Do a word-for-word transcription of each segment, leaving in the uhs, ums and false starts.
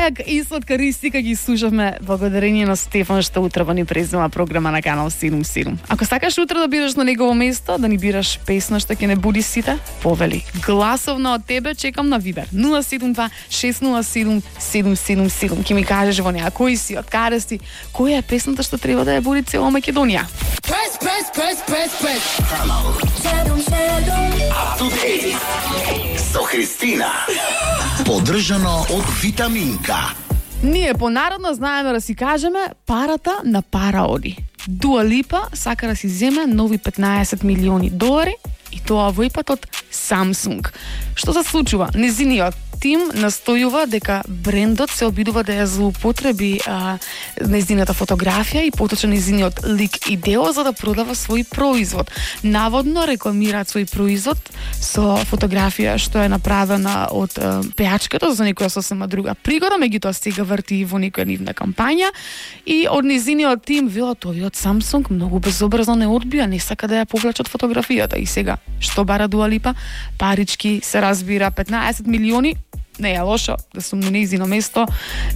Лејак и сладкаристика ги слушавме благодарение на Стефан што утрово ни презема програма на Канал седум седум. Ако сакаш утро да бидеш на негово место, да ни бираш песна што ќе не буди сите, повели. Гласовно од тебе чекам на Вибер нула седум два шест нула седум седум седум седум. Ќе ми кажеш во неа кој си, од каде си, која е песната што треба да ја буди цела Македонија. Press, press, press, press, press. Канал седум седум. Up to date. Со Христина. Поддржано од Витаминка. Ние понародно знаеме да си кажеме парата на пара оди. Дуа Липа сака да си земе нови петнаесет милиони долари и тоа во ипат од Samsung. Што се случува? Незиниот тим настојува дека брендот се обидува да ја злоупотреби а, незината фотографија и поточно незиниот лик и дело за да продава свој производ. Наводно рекламираат свој производ со фотографија што е направена од а, пеачката за некоја сосема друга пригода, меѓутоа сега врти во некоја нивна кампања и од незиниот тим велат овие од Samsung многу безобразно не одбија, не сака да ја повлечат фотографијата. И сега што бара Дуа Липа? Парички, се разбира, петнаесет милиони. Не е лошо да сум на нејзино место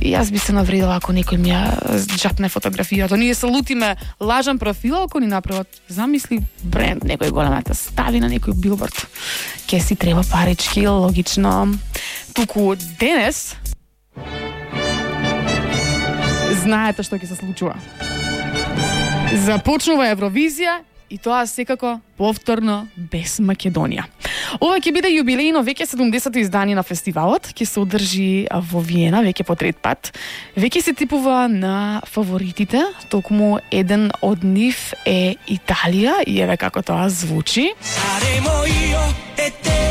и јас би се навредила ако некој ми ја джапне фотографијата. Ние се лутиме лажан профил ако ни направат, замисли, бренд, некој големата стави на некој билборд. Ке си треба парички, логично. Туку денес знаете што ќе се случува. Започнува Евровизија и тоа секако повторно без Македонија. Ова ќе биде јубилејно веќе седумдесето издание на фестивалот, ќе се одржи во Виена веќе по трет пат. Веќе се типува на фаворитите, токму еден од нив е Италија и еве како тоа звучи. Saremo io e te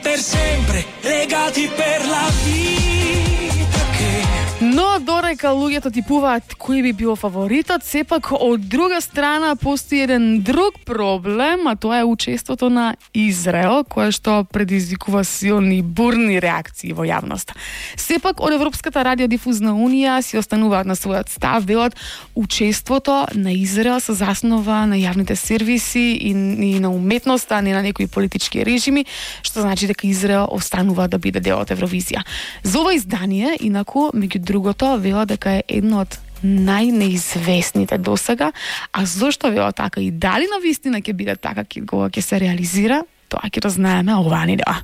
per sempre legati per la vita che Но додека луѓето типуваат кој би бил фаворитот, сепак од друга страна постои еден друг проблем, а тоа е учеството на Израел, кое што предизвикува силни бурни реакции во јавноста. Сепак од Европската радиодифузна унија си остануваат на својот став, велат учеството на Израел се заснова на јавните сервиси и, и на уметноста, а не на некои политички режими, што значи дека Израел останува да биде дел од Евровизија. За ова издание, инаку, меѓу другото, вела дека е едно од најнеизвестните досега, а зошто вела така и дали на вистина ќе биде така кога ќе се реализира, тоа ќе да знаеме оваа недела.